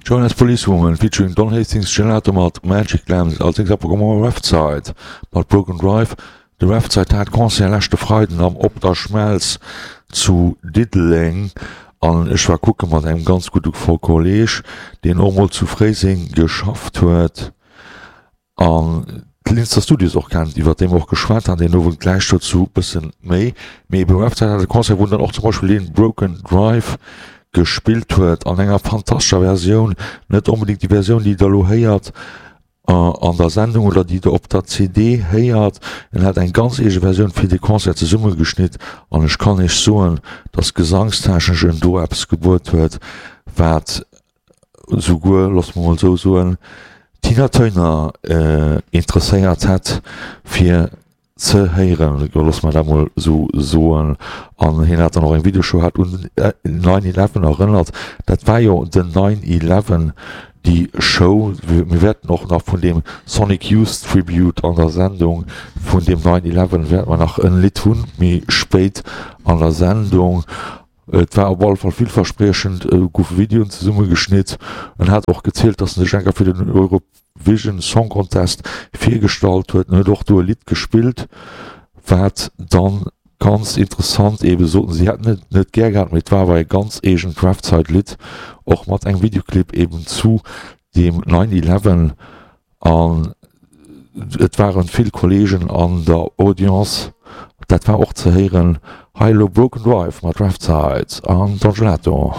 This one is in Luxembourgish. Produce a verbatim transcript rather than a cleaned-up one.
Jonas Policewoman featuring Don Hastings Gelato mat Magic Lamps, als nächst am Programm hu mer Refside mat Broken Drive. De Refside hat Concert leschte Freiden am Op der Schmelz zu Diddeleng an ech war kucke mat engem ganz gudde Kolleg, deen och mol zu Fréiseng geschafft huet an d'Linzer Studios och kennt, iwwer déi mer och geschwat han deen Owend, gläich dozou bëssen méi. Mee ebe Refside hat e Concert, wou en dann och zum Beispill dee Broken Drive gespillt huet an enger fantastescher Versioun, net onbedéngt déi Versioun, déi der elo héiert an der Sendung oder déi der op der C D héiert. En hat eng ganz eege Versioun fir de Concert zesummegeschnitt an ech kann iech soen, dass gesangstechnesch en do eppes gebuet huet, wat souguer, loosse mer mol esou soen, d'Tina Turner interesséiert hätt fir ze héieren, loosse mer dat mol esou soen. An hien hat dann och eng Videoshow, hat un nine eleven erënnert. Dat war jo den nine eleven, déi Show. Mir wäerten och nach vun deem Sonic Youth Tribute an der Sendung vun deem nine eleven wäerte mer nach en Lidd hunn, méi spéit an der Sendung. Et war op alle Fall villverspriechend, et goufe Videoen zesummegeschnitt. En hat och gezielt, datt en sech eng Kéier fir den Eurovision Song Contest virgestallt huet. En huet och do e Lidd gespillt, wat dann ganz interessant eebe soten, si hätten et net gär gehat, mee et war awer e ganz eegent Refside-Lidd, och mat engem Videoclip eeben zu deem nine eleven. An et waren vill Kollegen an der Audience, dat war och ze héieren. Hei elo Broken Drive mat Refside an Don Gelato.